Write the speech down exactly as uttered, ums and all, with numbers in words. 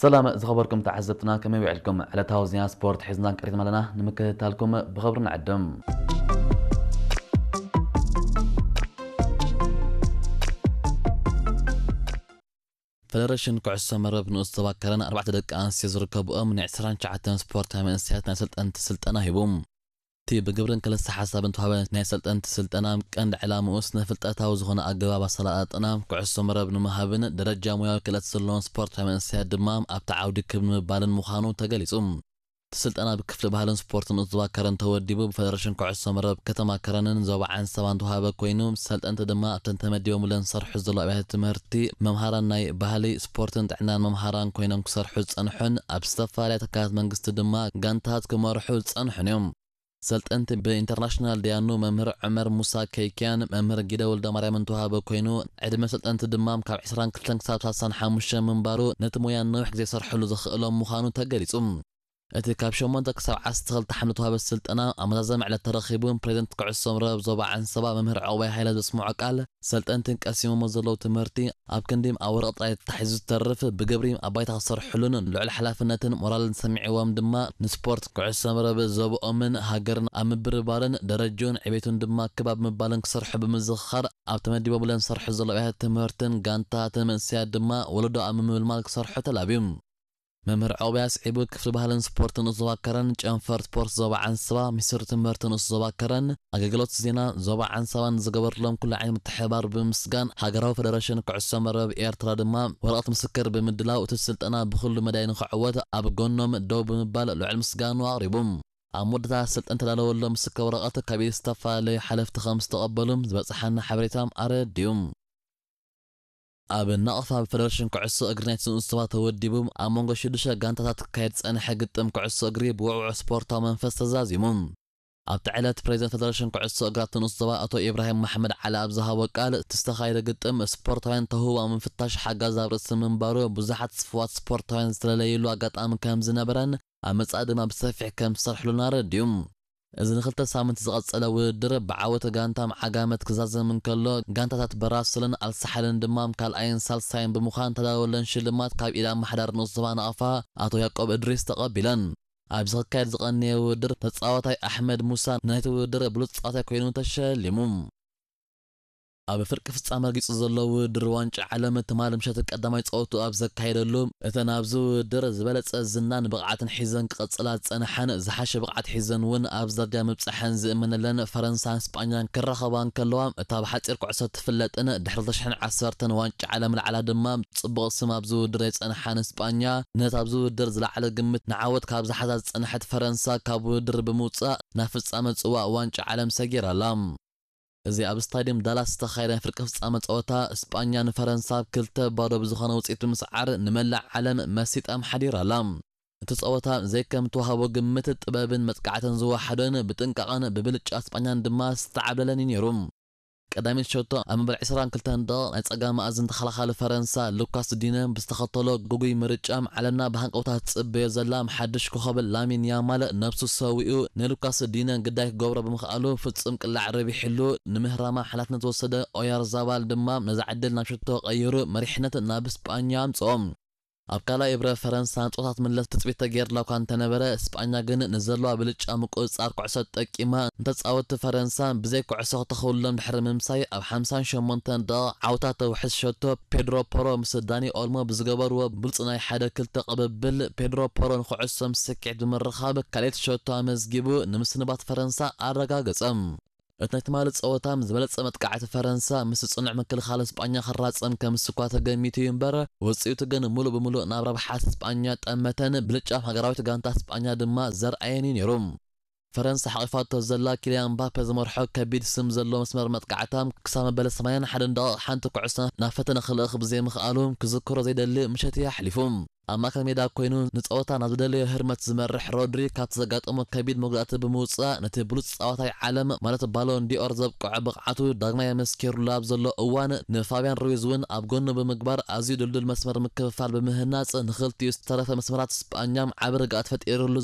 ሰላም ዝኸበርኩም ተዓዘብትና፣ ከመይ ውዕልኩም? ዕለታዊ ዜና ስፖርት ሒዝና ቀሪብና ኣለና፣ ንምክትታልኩም ብኽብሪ ንዕድም። ፈደረሽን ኩዕሶ መረብ ንኡስ ዞባ ከረን ኣርባዕተ ደቂ ኣንስትዮ ዝርከብኦም ናይ ዕስራን ትሽዓተን ስፖርታዊ መንእሰያት ናይ ሰልጠንቲ ስልጠና ሂቡ። እቲ ብግብርን ክልሰ ሓሳብን ተዋህበ ናይ ሰልጠንቲ ስልጠና ቀንዲ ዕላምኡ ስነ ፍልጠታዊ ዝኾነ ኣገባብ ኣሰላጥና ኩዕሶ መረብ ንምሃብን ደረጃ ሙያዊ ክእለት ዘለዎም ስፖርታዊ መንእሰያት ድማ ኣብቲ ዓውዲ ክብ ንምባልን ምዃኑ ተገሊጹ። እቲ ስልጠና ብክፍሊ ባህልን ስፖርትን ንኡስ ዞባ ከረን ተወዲቡ ብፈደረሽን ኩዕሶ መረብ ከተማ ከረንን ዞባ ዓንሰባን ተዋህበ ኮይኑ፣ ሰልጠንቲ ድማ ኣብተን ተመዲቦምለን ዝሰርሑ ዘለዉ ኣብያተ ትምህርቲ መምሃራን ናይ ባህሊ፣ ስፖርትን ጥዕናን መምሃራን ኮይኖም ክሰርሑ ዝጸንሑን ኣብ ዝተፈላለያ ትካላት መንግስቲ ድማ ጋንታት ክመርሑ ዝጸንሑን እዮም። ሰልጠንቲ ብኢንተርናሽናል ደያኑ መምህር ዑመር ሙሳ ከይክያን መምህር ጊደ ወልደማርያምን ተዋህበ ኮይኑ፣ ዕድመ ሰልጠንቲ ድማ ካብ ዕስራን ክልተን ክሳብ ሰላሳን ሓሙሽተን ምንባሩ ነቲ ሞያ ነዊሕ ግዜ ይሰርሕሉ ዘኽእሎም ምዃኑ ተገሊጹ። እቲ ካብ ሸሞንተ ክሳብ ዓሰርተ ክልተ ሓምለ ተዋህበ ስልጠና ኣመዛዘሚ ዕለት ተረኺቡ፣ ፕሬዚደንት ኩዕሶ መረብ ዞባ ዓንሰባ መምህር ዑቕባይ ሃይለ ዘስምዖ ቃል፣ ሰልጠንትን ቀሲሞሞ ዘለዉ ትምህርቲ ኣብ ክንዲ ኣብ ወረቐት ጥራይ ተታሒዙ ዝተርፍ፣ ብግብሪ ኣብ ባይታ ክሰርሕሉን ልዑል ሓላፍነትን ሞራልን ሰሚዕዎም ድማ ንስፖርት ኩዕሶ መረብ ዞብኦምን ሃገርን ኣብ ምብርባርን ደረጅኡን ዕቤቱን ድማ ክብ ኣብ ምባልን ክሰርሑ ብምዝኽኻር፣ ኣብ ተመዲቦምለን ዝሰርሑ ዘለዉ ኣብያተ ትምህርትን ጋንታትን መንእሰያት ድማ ወለዶ ኣብ ምምልማል ክሰርሑ ተላብዩ። መምህር ዑቕባይ ኣስዒቡ፣ ክፍሊ ባህልን ስፖርትን ንኡስ ዞባ ከረን፣ ጨንፈር ስፖርት ዞባ ዓንሰባ፣ ሚኒስትሪ ትምህርቲ ንኡስ ዞባ ከረን፣ ኣገልግሎት ዜና ዞባ ዓንሰባን ዝገበርሎም ኩሉ ዓይነት ምትሕብባር ብምምስጋን፣ ሃገራዊ ፈደረሽን ኩዕሶ መረብ ኤርትራ ድማ ወረቐት ምስክር ብምድላው፣ እቲ ስልጠና ብኹሉ መዳይ ንኽዕወት ኣብ ጎኖም ደው ብምባል ልዑል ምስጋኑ ኣቕሪቡ። ኣብ መወዳእታ ሰልጠንቲ ዝተዳለወሎም ምስክር ወረቐት ካብ ኢድ ዝተፈላለዩ ሓለፍቲ ከም ዝተቐበሉ ዝበጽሓና ሓበሬታ ኣረድዩ። ኣብ ናቕፋ ብፈደረሽን ኩዕሶ እግሪ ናይቲ ንኡስ ዞባ ተወዲቡ፣ ኣብ መንጎ ሽዱሽተ ጋንታታት ክካየድ ዝጸንሐ ግጥም ኩዕሶ እግሪ ብውዕዉዕ ስፖርታዊ መንፈስ ተዛዚሙ። ኣብቲ ዕለት፣ ፕሬዚደንት ፈደረሽን ኩዕሶ እግሪ ኣብቲ ንኡስ ዞባ ኣቶ ኢብራሂም መሓመድ ዓሊ ኣብ ዝሃቦ ቃል፣ እቲ ዝተኻየደ ግጥም ስፖርታውያን ተውህቦ ኣብ ምፍታሽ ሓጋዚ ኣብ ርእሲ ምንባሩ፣ ብዙሓት ጽፉዋት ስፖርታውያን ዝተለለይሉ ኣጋጣሚ ከም ዝነበረን፣ ኣብ መጻኢ ድማ ብሰፊሕ ከም ዝሰርሕሉን ኣረድዩ። እዚ ንክልተ ሳምንት ዝቐጸለ ውድድር ብዓወት ጋንታም ዓጋመት ክዛዘም እንከሎ፣ ጋንታታት በራስልን ኣልሳሕልን ድማ ካልኣይን ሳልሳይን ብምዃን ተዳለወለን ሽልማት ካብ ኢድ ኣመሓዳሪ ንኡስ ዞባ ናቕፋ ኣቶ ያቆብ እድሪስ ተቐቢለን። ኣብዚ ክካየድ ዝቐነየ ውድድር ተጻዋታይ ኣሕመድ ሙሳ ናይቲ ውድድር ብሉጽ ተጻዋታይ ኮይኑ ተሸሊሙ። ኣብ ፍርቂ ፍጻመ ረጊጹ ዘሎ ውድድር ዋንጫ ዓለም ትማል ምሸት ቀዳማይ ጸወቱ ኣብ ዘካየደሉ፣ እተን ኣብዚ ውድድር ዝበለጸ ዝናን ብቕዓትን ሒዘን ክቐጽላ ዝጸንሓን ዝሓሸ ብቕዓት ሒዘን እውን ኣብዚ ደረጃ ምብጻሐን ዝእመነለን ፈረንሳን ስጳኛን ክራኸባ እንከለዋ፣ እታ ብሓጺር ኩዕሶ ትፍለጥን ድሕሪ ክልተ ሽሕን ዓሰርተን ዋንጫ ዓለም ለዓላ ድማ ጽቡቕ ስም ኣብዚ ውድድር የጸንሓን ስጳኛ፣ ነታ ኣብዚ ውድድር ዝለዓለ ግምት ንዓወት ካብ ዝሓዛ ዝጸንሐት ፈረንሳ ካብ ውድድር ብምውጻእ ናብ ፍጻመ ጽዋእ ዋንጫ ዓለም ሰጊራ ኣላ። እዚ ኣብ ስታድየም ዳላስ ዝተኻየደ ናይ ፍርቂ ፍጻመ ጸወታ፣ ስጳኛ ንፈረንሳ ብ ክልተ ባዶ ብዝኾነ ውጽኢት ብምስዓር ንመላእ ዓለም መሲጣ ኣምሓዲራ ኣላ። እቲ ጸወታ፣ ዘይከም ተዋህቦ ግምት፣ ጥበብን መጥቃዕትን ዝወሓዶን፣ ብጥንቃቐን ብብልጫ ስጳኛን ድማ ዝተዓብለለን እዩ ነይሩ። ቀዳሚት ሸቶ፣ ኣብ መበል ዕስራን ክልተን ደቂቕ ናይ ጸጋም መኣዝን ተኸላኻሊ ፈረንሳ ሉካስ ዲነ ብዝተኸተሎ ግጉይ ምርጫ፣ ዓለምና ብሃንቀውታ ትጽበዮ ዘላ ሓድሽ ኮኸብ ላሚን ያማል ነብሱ ሰዊኡ ንሉካስ ዲነ ግዳይ ክገብሮ ብምኽኣሉ ፍጹም ቅላዕ ረቢሕሉ፣ ንምህራማ ሓላፍነት ዝወሰደ ኦያርዛባል ድማ ነዛ ዕድል ናብ ሸቶ ቀይሩ መሪሕነት ናብ ስጳኛ ኣምጽኦ። ኣብ ካልኣይ እብረ ፈረንሳ ንጾታ ትምለስ ትጽቢት ተገይርላ እኳ እንተነበረ፣ ስጳኛ ግን ንዘለዋ ብልጫ ምቁጽጻር ኩዕሶ ተጠቂማ ንተጻወትቲ ፈረንሳ ብዘይ ኩዕሶ ክተኽውሎም ድሕሪ ምምሳይ፣ ኣብ ሓምሳን ሸሞንተን ደቂቕ ዓውታ ተውሕስ ሸቶ ፔድሮ ፖሮ ምስ ዳኒ ኦልሞ ብዝገበርዎ ብሉጽ ናይ ሓደ ክልተ ቅብብል፣ ፔድሮ ፖሮ ንኩዕሶ ምስ ስኪዕት ብምርኻብ ካልኣይቲ ሸቶ ኣመዝጊቡ፣ ንምስንባት ፈረንሳ ኣረጋገጸ። እቲ ናይ ትማሊ ጸወታ፣ ምስ ዝበለጸ መጥቃዕቲ ፈረንሳ፣ ምስ ጽኑዕ ምክልኻል ስጳኛ ክራጸም ከም ዝስኳ ተገሚቱ እዩ እምበር፣ ውጽኢቱ ግን ምሉእ ብምሉእ ናብ ረብሓ ስጳኛ ጠመተን፣ ብልጫ ሃገራዊት ጋንታ ስጳኛ ድማ ዘርኣየን እዩ ነይሩ። ፈረንሳ ሓቒፋቶ ዘላ ኪልያን ምባፔ ዝመርሖ ከቢድ ስም ዘለዎ መስመር መጥቃዕታ፣ ክሳብ መበል ሰማንያን ሓደን ደቂቕ ሓንቲ ኩዕሶ ናብ ፈተነ ክልእኽ ብዘይምኽኣሉ፣ ክዝክሮ ዘይደሊ ምሸት እዩ ኣሕሊፉ። ኣብ ማእከል ሜዳ ኮይኑ ንጸወታ ናብ ዝደለዮ ህርመት ዝመርሕ ሮድሪ፣ ካብቲ ዘጋጠሞ ከቢድ መጉዳእቲ ብምውጻእ፣ ነቲ ብሉጽ ጻዋታይ ዓለም፣ ማለት ባሎን ዲኦር ዘብቅዖ ብቕዓቱ ዳግማይ ኣመስኪሩሉ ኣብ ዘሎ እዋን፣ ንፋብያን ሩይዝ እውን ኣብ ጎኑ ብምግባር፣ ኣዝዩ ድልዱል መስመር ምክፍፋል ብምህናጽ፣ ንኽልቲኡ ዝተረፈ መስመራት ስጳኛ ዓቢ ርግኣት ፈጢሩሉ